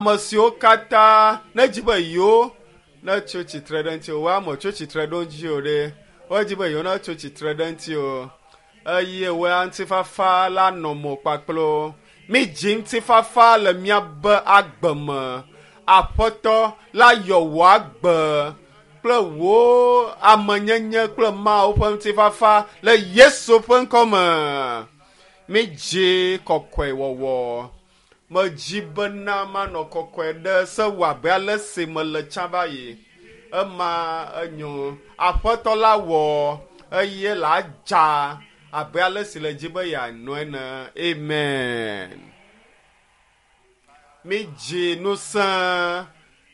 Ame siwo katã nedzi be yewo netso tsitre ɖe ŋuti o, woa metso tsitre ɖe ŋuti o ɖe. Wodzi be yewo netso tsitre ɖe ŋuti o eye woa ŋutifafa la nɔ mo kpakple wo. Mídzi ŋutifafa le míabe agbe me. Aƒetɔ la yɔ wò agbe kple wò amenyenye kple Mawu ƒe ŋutifafa le Yesu ƒe ŋkɔ me. Mídzi kɔkɔewɔwɔ. Medzi bena manɔ kɔkɔe ɖe se wɔ abe ale si mele tsã va yi. Ema enyo. Aƒetɔ la wɔ eye la dza abe ale si le dzi be yeanɔ ene. Amen. Mídzi ŋusẽ.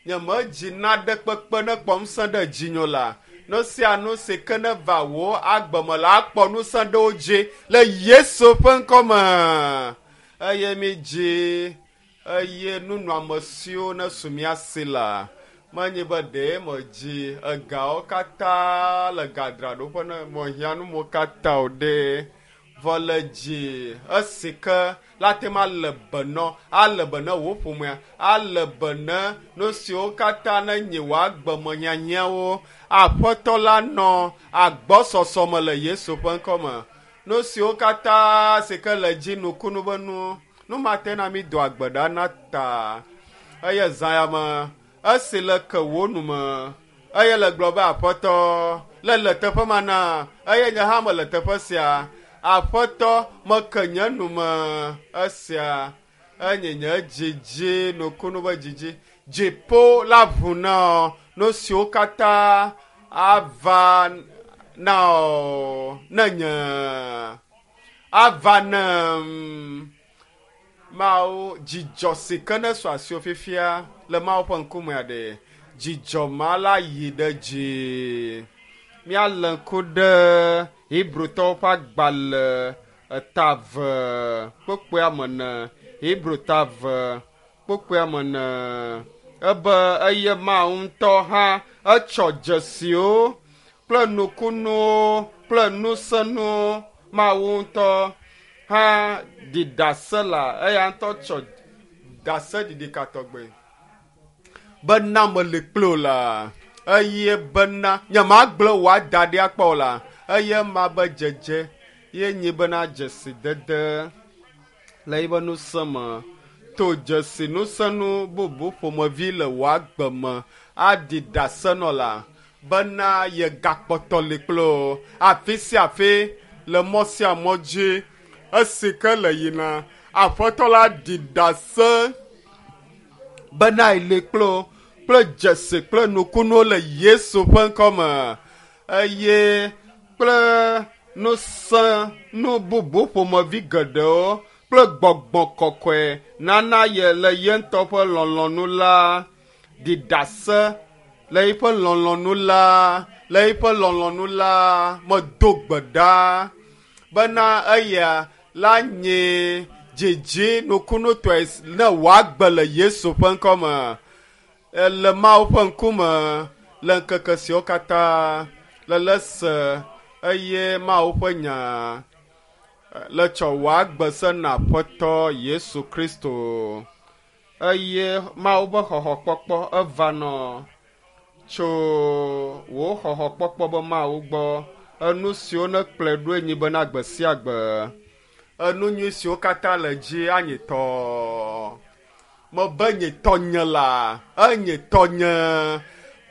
Nyemedzi naɖe kpekpe ne kpɔ ŋusẽ ɖe dzinye o la. Nu sia nu si ke neva wò agbe me la akpɔ ŋusẽ ɖe wo dzi le Yesu ƒe ŋkɔ me. Eye mídzi eye nunɔamesiwo nesu mía si la, menye be ɖee medzi egawo katã le gadraɖoƒe ne mehiã numo katã o ɖe. Vɔ le dzi esi ke la te ma le be nɔ, ale be ne wò ƒomea, ale be ne nu siwo katã ne nyi wò agbe me hiahiãwo, Aƒetɔ la nɔ agbɔsɔsɔ me le Yesu ƒe ŋkɔ me. Nu siwo katã si ke le dzi nukunu be nu, nu ma te na mi do agbe ɖa na ta. Eye zã ya me, esi le ke wò nu me, eye le gblɔ be Aƒetɔ, le le teƒe ma na, eye nye hã mele teƒe sia. Aƒetɔ, meke nye nu me esia. Enye nye dzidzi, nukunu be dzidzi. Dziƒo la ʋu na wò, nu siwo katã ava na wò ne nye ava nem. Mawu, dzidzɔ si ke ne su asiwò fifia le Mawu ƒe ŋkumea ɖe, dzidzɔ ma la yi ɖe dzi. Míalé ŋku ɖe Hebrewtɔwo ƒe agbalẽ eta eve kpukpuia me ne. Hebrew ta eve kpukpuia me ne. Ebe eye Mawu ŋutɔ hã etsɔ dzesiwo kple nukunuwo kple ŋusẽnuwo Mawu ŋutɔ hã ɖi ɖase la eya ŋutɔ tsɔ ɖaseɖiɖi ka tɔgbe bena meli kpli wò la eye bena nyemagblẽ wò ada ɖi akpɔ o la eye ma be dzedze ye nyi bena dzesidede le yiƒe ŋusẽ me to dzesi ŋusẽnu bubu ƒomevi le wò agbe me aɖi ɖase nɔ la bena yegakpɔtɔ li kpli wò afi sia afi le mɔ sia mɔ dzi esi ke le yina Aƒetɔ la ɖi ɖase bena yeli kpli wò kple dzesi kple nukunuwo le Yesu ƒe ŋkɔ me eye kple ŋusẽ nu bubu ƒomevi geɖewo kple gbɔgbɔ kɔkɔe nana ye le ye ŋutɔ ƒe lɔlɔ̃nu la ɖi ɖase le eƒe lɔlɔ̃nu la le eƒe lɔlɔ̃nu la medo gbe ɖa bena eya la nye dzidzi nukunutɔe ne wòagbe le Yesu ƒe ŋkɔ me le Mawu ƒe ŋkume le ŋkeke siwo katã le le se eye Mawu ƒe nya le tsɔ wòagbe se na Aƒetɔ Yesu Kristo eye Mawu ƒe xɔxɔkpɔkpɔ eva nɔ tso wò xɔxɔkpɔkpɔ be Mawu gbɔ enu siwo nekplɔe ɖoe nyi bena gbe sia gbe enu nyui siwo katã le dzi anyi tɔ. Mebe nye tɔnye la, enye tɔnye.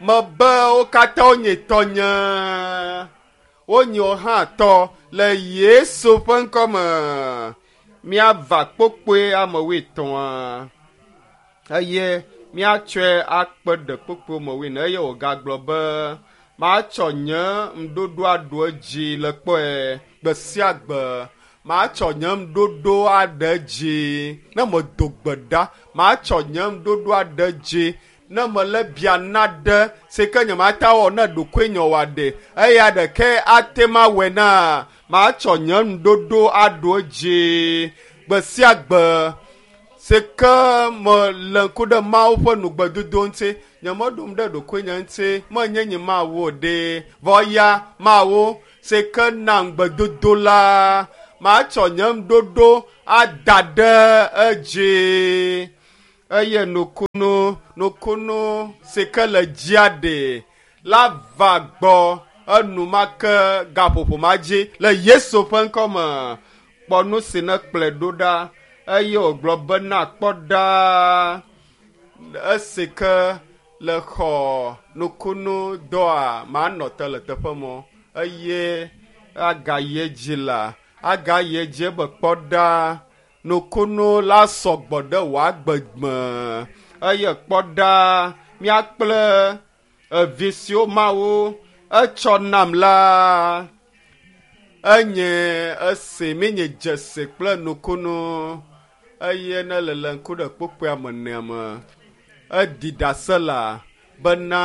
Mebe wo katã wonye tɔnye. Wonye wo hã tɔ le Yesu ƒe ŋkɔ me. Míava kpokpoe ame wuietɔ̃a eye míatsɔe akpe ɖe kpokpoe me wuiene eye wògagblɔ be matsɔ nye ŋuɖoɖo aɖo edzi le kpɔe gbe sia gbe. Matsɔ nye ŋuɖoɖo aɖe edzi ne medo gbe ɖa. Matsɔ nye ŋuɖoɖo aɖe edzi ne mele bia naɖe si ke nyemate awɔ ne ɖokuinye wòaɖe eya ɖeke ate ma awɔe na matsɔ nye ŋuɖoɖo aɖo edzi gbe sia gbe si ke mele ŋku ɖe Mawu ƒe nugbedodo ŋuti. Nyemeɖom ɖe ɖokuinye ŋuti, menye nye Mawu o ɖe, vɔ ya Mawu si ke na ŋugbedodo la, matsɔ nye ŋuɖoɖo ada ɖe edzi. Eye nukunu nukunu si ke le dzia ɖe la va gbɔ enumake gaƒoƒo ma dzi le Yesu ƒe ŋkɔme. Kpɔ nu si ne kplɔe ɖo ɖa eye wògblɔ bena kpɔ ɖa esi ke le xɔ nukunu dɔa manɔ te le teƒe mɔ eye agayi edzi la agayi edzi be kpɔ ɖa nukunu la sɔgbɔ ɖe wò agbe me eye kpɔ ɖa mía kple evi siwo Mawu etsɔ nam la enye esi míenye dzesi kple nukunu eye ne le le ŋku ɖe kpukpuia me nea me eɖi ɖase la bena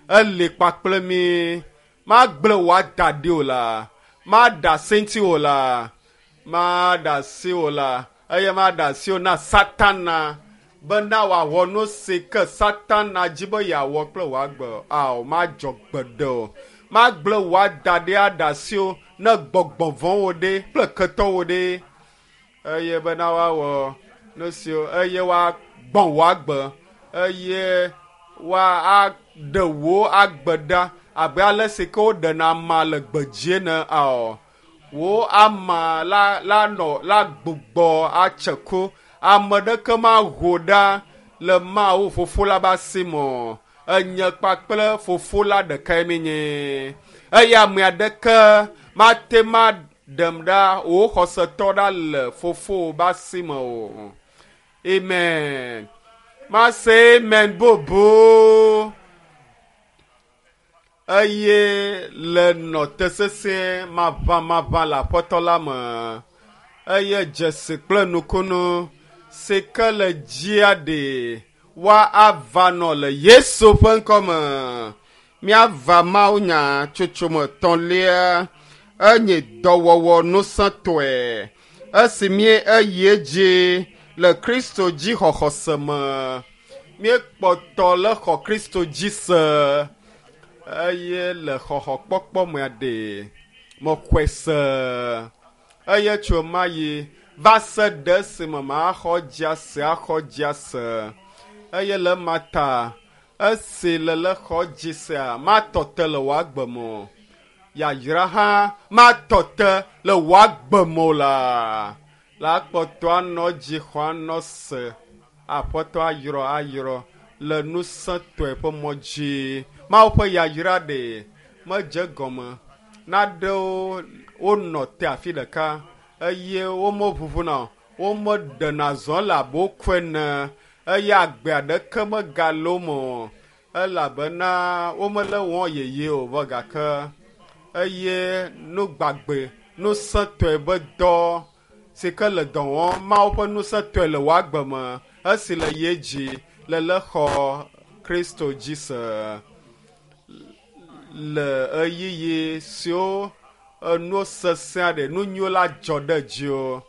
eli kpakple mí magblẽ wò ada ɖi o la maɖe asi ŋuti o la maɖe asi o la eye maɖe asi o na Satana bena wòawɔ nu si ke Satana dzi be yeawɔ kple wò agbe ao madzɔ gbeɖe o magblẽ wò ada ɖi aɖe asi o ne gbɔgbɔ vɔ̃wo ɖe kple ketɔwo ɖe eye bena woawɔ nu siwo eye woagbɔ̃ wò agbe eye woaɖe wò agbe ɖa abe ale si ke woɖena ama le gbedzi ene ao wò ama la la nɔ la gbugbɔ atse ku ame ɖeke maho ɖa le Mawu fofo la be asi me o enye kpakple fofo la ɖekae míenye eye ame aɖeke mate ma ɖem ɖa wò xɔsetɔ ɖa le fofo be asi me o. Amen. Mase amen bobo. Eye le nɔ te sesĩe maʋamaʋã le aƒetɔ la me. Eye dzesi kple nukunu si ke le dzia ɖe woa ava nɔ le Yesu ƒe ŋkɔme. Míava Mawu nya tsotsome etɔ̃lia enye dɔwɔwɔ ŋusẽtɔe esi mí eyi edzi le Kristo dzi xɔxɔse me. Míekpɔtɔ le xɔ Kristo dzi se eye le xɔxɔkpɔkpɔ mea ɖe mexɔe se eye tso ma yi va se ɖe esime maxɔ dzi ase axɔ dzi ase eye le ema ta esi le le xɔ dzi sea matɔ te le wò agbe me o. Yayra hã matɔ te le wò agbe me o la la kpɔtɔ anɔ dzi xɔ anɔ se aƒetɔ ayrɔ ayrɔ le ŋusẽtɔe ƒe mɔ dzi. Mawu ƒe yayra ɖe medze gɔme naɖewo wonɔ te afi ɖeka eye womeʋuʋuna o womeɖena zɔ le abe woku ene eye agbe aɖeke megale wo me o elabena womele wɔm yeye o vɔ gake eye nugbagbe ŋusẽtɔe be dɔ si ke le dɔ wɔm Mawu ƒe ŋusẽtɔe le wò agbe me esi le ye dzi le le xɔ Kristo dzi se le ɣeyiɣi siwo enuwo sesẽ aɖe nu nyuiwo la dzɔ ɖe dziwò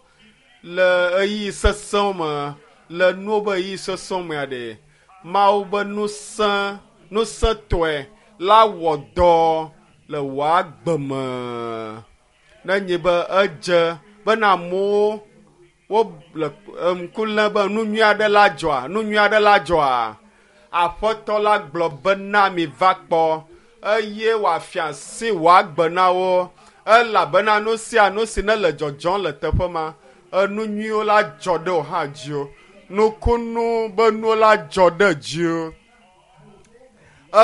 le ɣeyiɣi sesẽwo me le nuwo be ɣeyiɣi sesẽwo mea ɖe Mawu be ŋusẽ ŋusẽtɔe la wɔ dɔ le wò agbe me nenye be edze bena amewo wole ŋku lém be nu nyui aɖe la dzɔa nu nyui aɖe la dzɔa aƒetɔ la gblɔ bena mi va kpɔ eye wòafia asi wò agbe na wo elabena nu sia nu si ne le dzɔdzɔm le teƒe ma enu nyuiwo la dzɔ ɖe wò hã dziwò nukunu be nuwo la dzɔ ɖe dziwò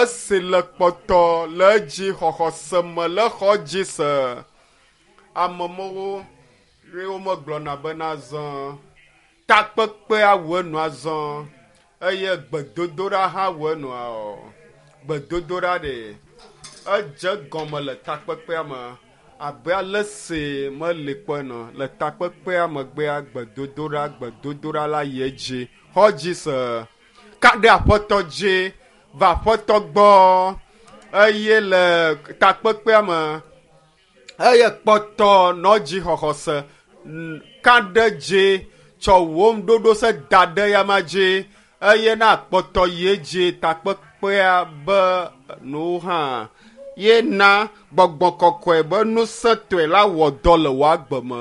esi le kpɔtɔ le edzi xɔxɔse me le xɔ dzi se ame mawo ye womegblɔna bena azɔ takpekpea wu enu azɔ eye gbedodoɖa hã wu enua o gbedodoɖa ɖe edze gɔme le takpekpea me abe ale si meli kpɔe nɔ le takpekpea megbea gbedodoɖa gbedodoɖa la yi edzi xɔ dzi se ka ɖe aƒetɔ dzi va aƒetɔ gbɔ eye le takpekpea me eye kpɔtɔ nɔ dzi xɔxɔse ka ɖe dzi tsɔ wò ŋuɖoɖo se da ɖe yama dzi eye na kpɔtɔ yi edzi takpekpea be nuwo hã ye na gbɔgbɔ kɔkɔe be ŋusẽtɔe la wɔ dɔ le wò agbe me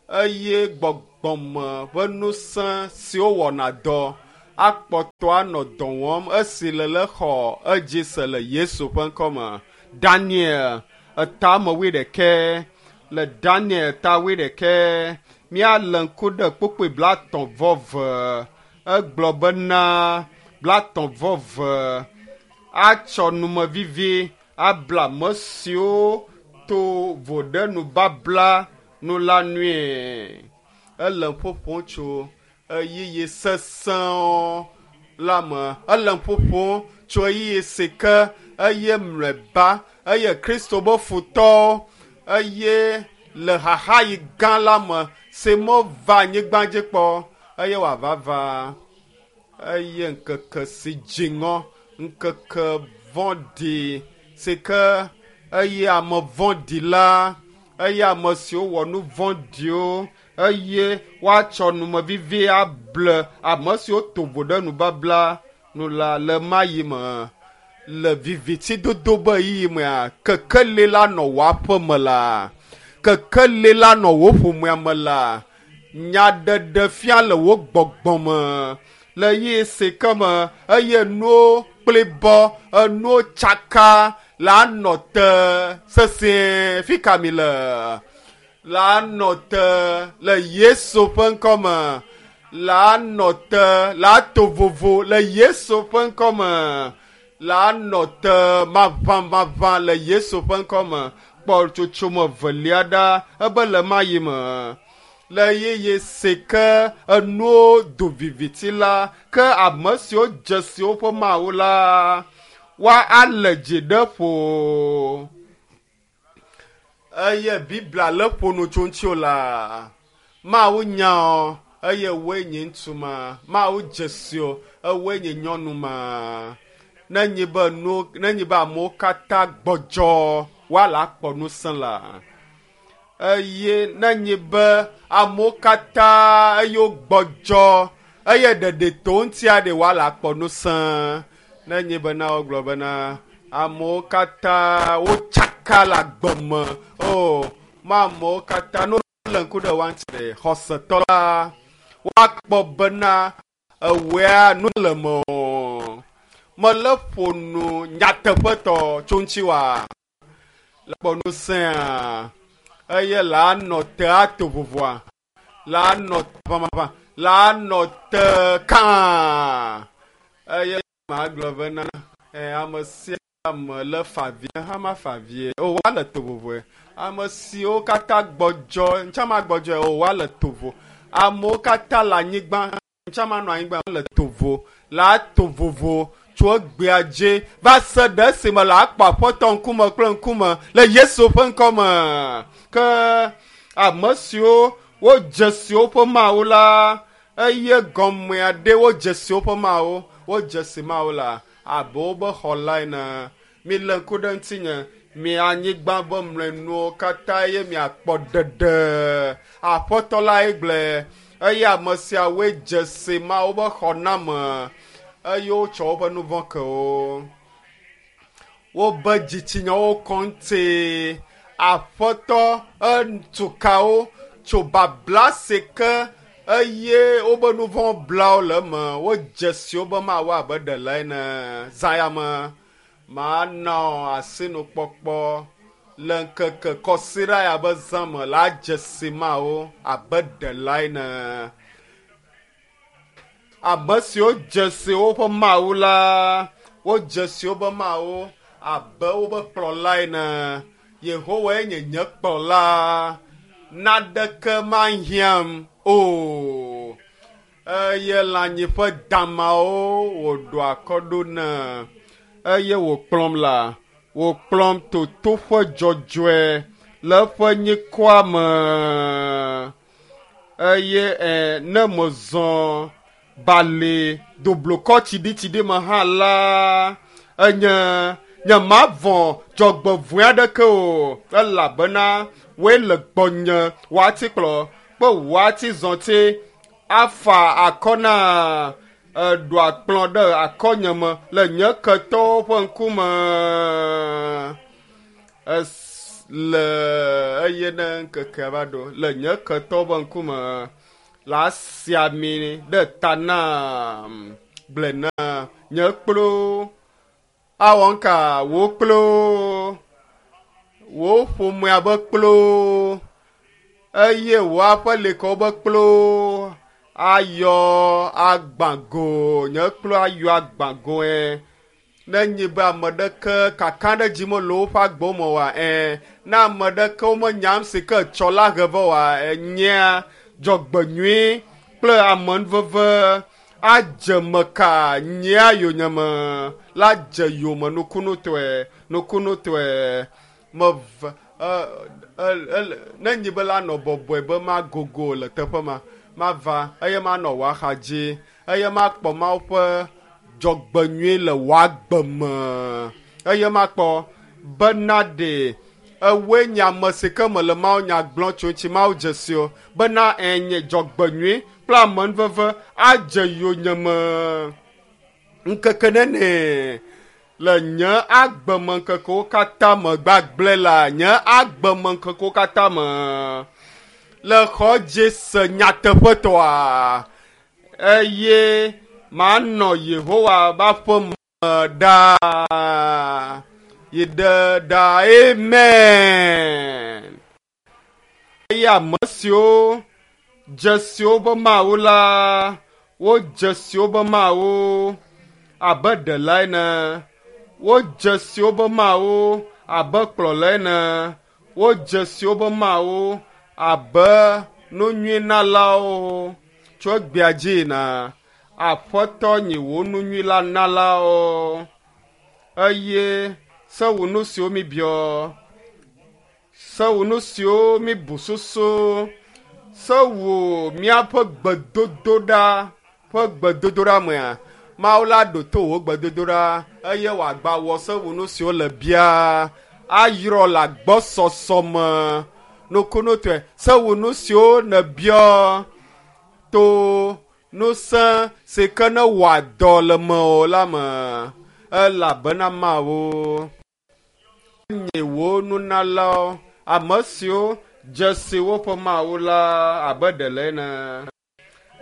eye gbɔ gbɔgbɔme ƒe ŋusẽ siwo wɔna dɔ akpɔtɔ anɔ dɔ wɔm esi le le xɔ edzi se le Yesu ƒe ŋkɔme. Daniel etame 21 le Daniel ta 21 míalé ŋku ɖe kpukpui 30/2 egblɔ bena 30/2 atsɔ numevivi abla ame siwo to vo ɖe nubabla nu la nue. Ele ƒoƒom tso ɣeyiɣi sesẽwo la me. Ele ƒoƒom tso ɣeyiɣi si ke eye mlɔeba eye Kristo be futɔwo eye le xaxaɣi gã la me si meva anyigba dzi kpɔ eye wòava va eye ŋkeke si dziŋɔ, ŋkeke vɔ̃ɖi si ke eye ame vɔ̃ɖi la eye ame siwo wɔ nu vɔ̃ɖiwo eye woatsɔ numevivi able ame siwo to vo ɖe nubabla nu la le mayi me. Le vivitidodo be ɣeyiɣi mea, kekeli la nɔ wò aƒe me la, kekeli la nɔ wò ƒomea me la, nyaɖeɖefia le wò gbɔgbɔ me le ɣeyiɣi si ke me eye nuwo kplibɔ, enuwo tsaka la nɔ te sesĩe. Fi ka mi le? La nɔ te le Yesu ƒe ŋkɔme. La nɔ te la to vovo le Yesu ƒe ŋkɔme. La nɔ te maʋamaʋã le Yesu ƒe ŋkɔme. Kpɔ tsotsome velia ɖa ebe le mayi me. Le ɣeyiɣi si ke enuwo do viviti la, ke ame siwo dze si woƒe Mawu la, woa alé dzi ɖe ƒo. Eye Biblia le ƒo nu tso ŋuti o la, Mawu nya o, eye woe nye ŋutsu ma. Mawu dze si o, ewoe nye nyɔnu ma. Nenye be nu, nenye be amewo katã gbɔdzɔ, woala akpɔ ŋusẽ la. Eye nenye be amewo katã eye wogbɔdzɔ eye ɖeɖi to ŋutia ɖe woala akpɔ ŋusẽ. Nenye bena wogblɔ bena amewo katã wotsaka le agbe me o, ma amewo katã ne wole ŋku ɖe woa ŋuti ɖe xɔsetɔ la, woakpɔ bena ewɔea nu le me o. Mele ƒo nu nyateƒetɔ tso ŋuti wa. Le kpɔ ŋusẽa eye la nɔ te ato vovoa, la nɔ ʋamaʋã, la nɔ te kãa. Eye magblɔ bena ame sia ame le fa vie hã mafa vie o, woale to vovoe. Ame siwo katã gbɔdzɔ, ŋutsa ma gbɔdzɔe o, woale to vo. Amewo katã le anyigba, ŋutsa ma nɔ anyigba le to vo, la to vovo tso egbea dzi va se ɖe esime le akpɔ aƒetɔ ŋkume kple ŋkume le Yesu ƒe ŋkɔme. Ke ame siwo wodze si woƒe Mawu la, eye gɔmea ɖe wodze si woƒe Mawu, wodze si Mawu la abe wobe xɔla ene. Milé ŋku ɖe ŋutinye, mi anyigba be mlɔenuwo katã eye miakpɔ ɖeɖe. Aƒetɔ lae gblɔe eye ame siawoe dze si Mawu be xɔname eye wotsɔ woƒe nu vɔ̃ ke wo. Wobe dzitsinyawo kɔ ŋuti. Aƒetɔ etu ka wo tso babla si ke eye wobe nu vɔ̃ bla wo le eme. Wodze si wobe Mawu abe ɖela ene. Zã ya me mana asinukpɔkpɔ le ŋkeke kɔsiɖa ya be zã me la dze si Mawu abe ɖela ene. Ame siwo dze si woƒe Mawu la, wodze si wobe Mawu abe wobe kplɔla ene. Yehowae nye nye kplɔla, naɖeke mahiãm o. Eye le anyi ƒe damawo wòɖo akɔ ɖo ne eye wòkplɔm la, wòkplɔm to toƒe dzɔdzɔe le eƒe nyikɔa me. Eye ne mezɔ bali doblukɔ tsiɖitsiɖi me hã la, enye nye mavɔ̃ dzɔgbevɔ̃e aɖeke o, elabena woe le gbɔnye woatikplɔ kple woatizɔti afa akɔ na eɖo akplɔ ɖe akɔnye me le nye ketɔwo ƒe ŋkume. Le eye ne ŋkekea va ɖo le nye ketɔwo ƒe ŋkume. La si ami ɖe ta nam gblɔe na nye kplo awɔ ŋka wò kplo wò ƒomea be kplo eye wò aƒelikawo be kplo ayɔ agbago nye kplo ayɔ agbagoe ne nyi be ame ɖeke kaka ɖe dzi mele woƒe agbewo me oa ne ame ɖeke womenyam si ke tsɔ la he vɔ oa enyea dzɔgbenyui kple amenuveve adze meka nyea yonyeme la dze yome nukunutɔe nukunutɔe meve ne nyi be la nɔ bɔbɔe be magogo le teƒe ma mava eye manɔ wò axa dzi eye makpɔ Mawu ƒe dzɔgbenyui le wò agbe me eye makpɔ bena ɖe ewoe nye ame si ke mele Mawu nya gblɔm tso ŋuti Mawu dze si o bena enye dzɔgbenyui kple amenuveve adze yonyeme ŋkeke nene le nye agbemeŋkekewo katã me gbagblẽ la nye agbemeŋkekewo katã me le xɔ dzi se nyateƒetɔa eye manɔ Yehowa ƒe aƒe me ɖaa yi ɖe ɖaa. Amen. Eye ame siwo dze si woƒe Mawu la, wodze si woƒe Mawu abe ɖela ene, wodze si woƒe Mawu abe kplɔla ene, wodze si woƒe Mawu abe nunyuinalawo tso egbea dzi yina. Aƒetɔ nyi wò nunyui la nalawo eye se wò nu siwo mi biɔ. Se wò nu siwo míbu susu, se wò míaƒe gbedodoɖa ƒe gbedodoɖa mea, Mawu la ɖo to wò gbedodoɖa eye wòagba wɔ se wò nu siwo le bia ayrɔ le agbɔsɔsɔ me nukunutɔe. Se wò nu siwo nèbiɔ to ŋusẽ si ke ne wɔa dɔ le mewò la me, elabena Mawu nye wò nunalawo, ame siwo dze si woƒe Mawu la abe ɖela ene,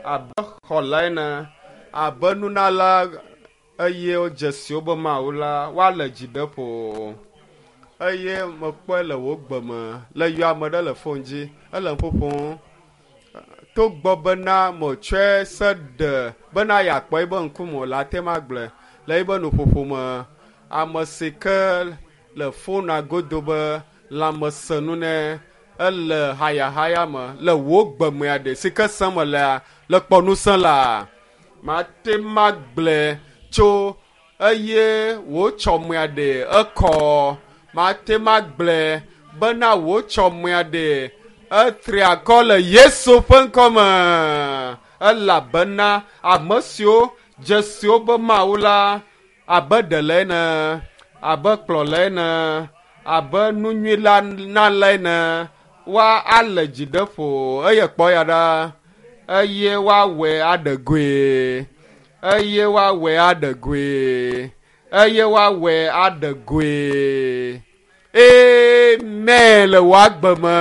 abe xɔla ene, abe nunala eye wodze si woƒe Mawu la, woale dzi ɖe ƒo. Eye mekpɔe le wò gbe me, le yɔ ame ɖe le fon dzi, ele nu ƒoƒom. Togbɔ bena metsɔe se ɖe bena yeakpɔ eƒe ŋkume o la, ate ŋu agblɔe le eƒe nuƒoƒo me. Ame si ke le fona godo be lãmesenu ne ele hayahaya me le wò gbe mea ɖe si ke sem melea le kpɔ ŋusẽ la, mate ŋu agblɔe tso eye wò tsɔmea ɖe ekɔ. Mate ŋu agblɔe bena wò tsɔmea ɖe etri akɔ le Yesu ƒe ŋkɔ me, elabena ame siwo dze si woƒe Mawu la abe ɖela ene, abe kplɔla ene, abe nunyui la nala ene, woale dzi ɖe ƒo eye kpɔ ya ɖa, eye woawɔe aɖe goe, eye woawɔe aɖe goe, eye woawɔe aɖe goe. Amen le wò agbe me.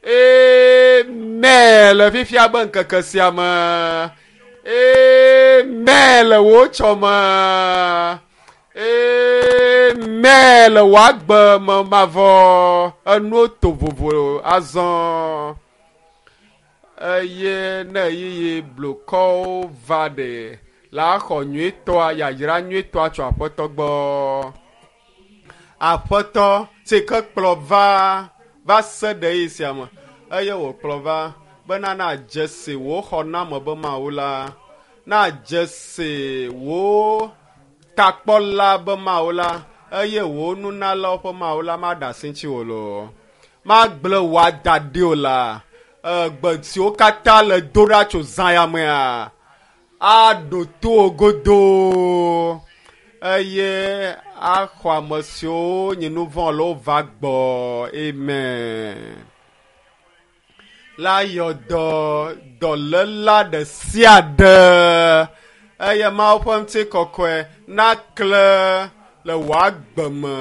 Amen le fifia be ŋkeke sia me. Amen le wò tsɔme. Amen le wò agbe me mavɔ. Enuwo to vovo azɔ. Eye ne ɣeyiɣi blukɔwo va ɖe la xɔ nyuitɔa, yayra nyuitɔa tso Aƒetɔ gbɔ. Aƒetɔ si ke kplɔ va va se ɖe ɣeyiɣi sia me eye wòkplɔ va bena nadze si wò xɔname be Mawu la, nadze si wò takpɔla be Mawu la eye wò nunalawo ƒe Mawu la maɖe asi ŋutiwò loo. Magblẽ wò ada ɖi o la, egbe siwo katã le do ɖa tso zã ya mea, aɖo to wò godoo eye axɔ ame siwo nyi nu vɔ̃ le wova gbɔ. Amen. La yɔ dɔ dɔléla ɖe sia ɖe eye Mawu ƒe ŋutikɔkɔe nakle le wò agbe me.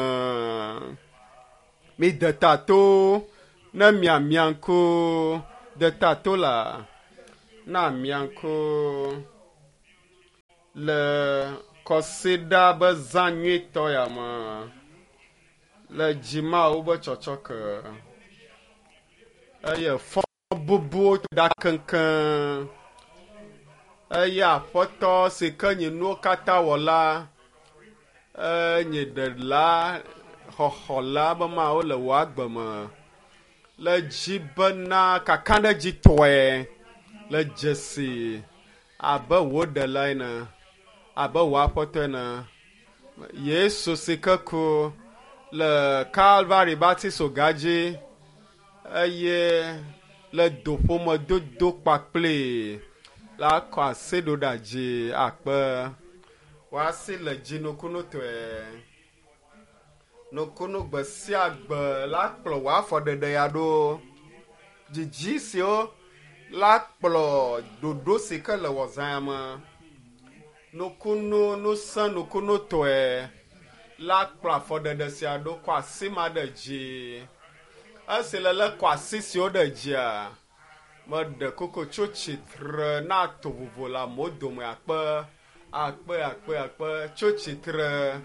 Mide ta to ne miamia ŋku. Deta to la na miaŋku le kɔsiɖa be zã nyuitɔ ya me le dzimawo be tsɔtsɔke eye fɔ bubuwo ɖa keŋkeŋ eye aƒetɔ si ke nye nuwo katã wɔla enye ɖela xɔxɔla be mawo le wò agbe me le dzi bena kakaɖedzitɔe le dzesi abe wò ɖela ene abe wò aƒetɔ ene Yesu si ke ku le Kalvari batisoga dzi eye le doƒomedodo kpakpli la kɔ asi ɖo ɖa dzi akpe woasi le dzi nukunutɔe nukunu gbe sia gbe la kplɔ wò afɔɖeɖe ya ɖo dzidzi siwo la kplɔ ɖoɖo si ke le wɔ zã me nukunu nusẽ nukunutɔe la kplɔ afɔɖeɖe sia ɖo kɔ asi ma ɖe dzi esi le lé kɔ asi siwo ɖe dzia meɖe koko tso tsitre na to vovo le amewo dome akpe akpe akpe akpe tso tsitre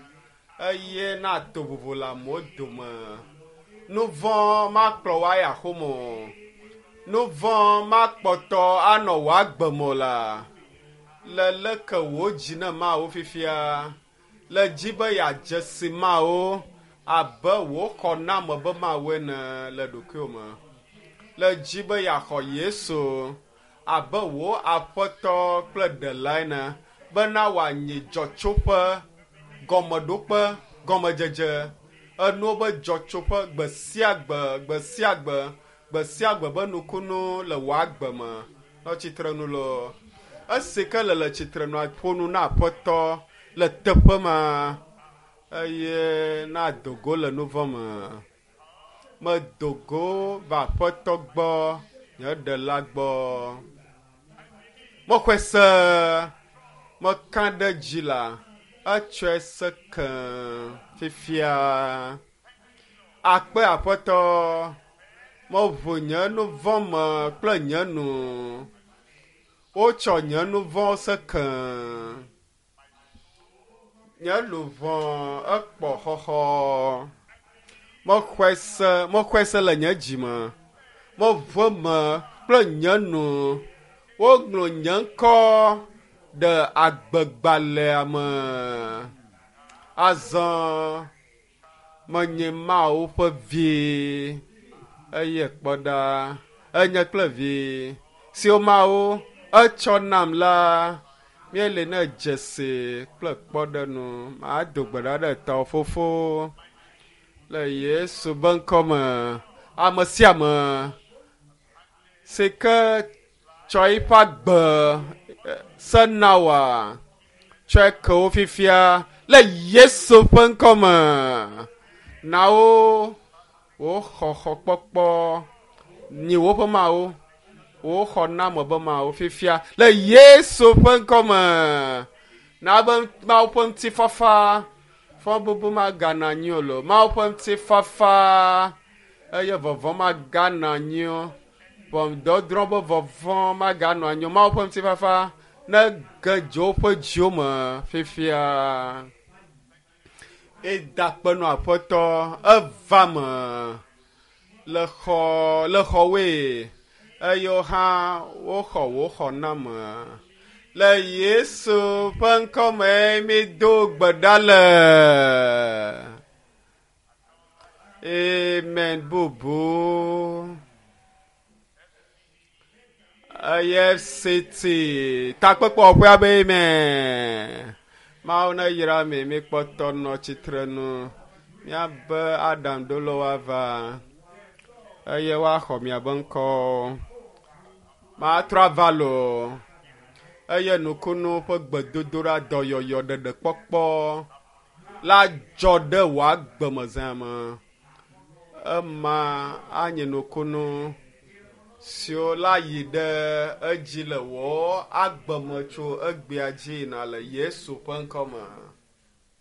eye na to vovo le amewo dome nu vɔ̃ makplɔ wò ayi axome o nu vɔ̃ makpɔtɔ anɔ wò agbe me o la le leke wò dzi ne mawo fifia le dzi be yeadze si mawo abe wò xɔname be mawo ene le ɖokuiwò me le dzi be yeaxɔ Yesu abe wò aƒetɔ kple ɖela ene bena wòanyi dzɔtsoƒe gɔmeɖokpe gɔmedzedze enuwo be dzɔtsoƒe gbe sia gbe gbe sia gbe gbe sia gbe be nukunu le wò agbe me nɔ tsitrenu loo esi ke le le tsitrenu ƒo nu na aƒetɔ le teƒe ma eye na dogo le nu vɔ̃ me medo go va aƒetɔ gbɔ nye ɖela gbɔ mexɔe se meka ɖe dzi la etsɔe se ke fifia akpe aƒetɔ meʋu nye nu vɔ̃ me kple nye nu wotsɔ nye nu vɔ̃ se ke nye luʋɔ ekpɔ xɔxɔ mexɔe se mexɔe se le nye dzi me meʋu me kple nye nu woŋlɔ nye ŋkɔ ɖe agbegbalẽa me azɔ menye Mawu ƒe vi eye kpɔ ɖa enye kple vi siwo Mawu etsɔ nam la míele ne dzesi kple kpɔɖenu mado gbe ɖa ɖe tɔwò fofo le Yesu be ŋkɔ me ame sia ame si ke tsɔ eƒe agbe se na wòa tsɔe ke wo fifia le Yesu ƒe ŋkɔ me na wo wò xɔxɔkpɔkpɔ nyi woƒe mawo wò xɔname be mawo fifia le Yesu ƒe ŋkɔ me na be Mawu ƒe ŋutifafa fɔbubu magana anyi o lo Mawu ƒe ŋutifafa eye vɔvɔ̃ magana anyi o ʋɔnudɔdrɔ̃ be vɔvɔ̃ maganɔ anyi o Mawu ƒe ŋutifafa ne ge dzo woƒe dziwo me fifia eda kpe nɔ aƒetɔ eva me le xɔ le xɔwoe eye wo hã woxɔ wò xɔname le Yesu ƒe ŋkɔ me mído gbe ɖa le amen bubu EFCT takpekpeɔƒea be amen Mawu ne yra mi mikpɔtɔ nɔ tsitrenu miabe aɖaŋuɖolawo ava eye woaxɔ miabe ŋkɔ matrɔ ava loo eye nukunu ƒe gbedodoɖa dɔyɔyɔ ɖeɖekpɔkpɔ la dzɔ ɖe wò agbe me zã me ema anye nukunu siwo la yi ɖe edzi le wò agbe me tso egbea dzi yina le Yesu ƒe ŋkɔ me.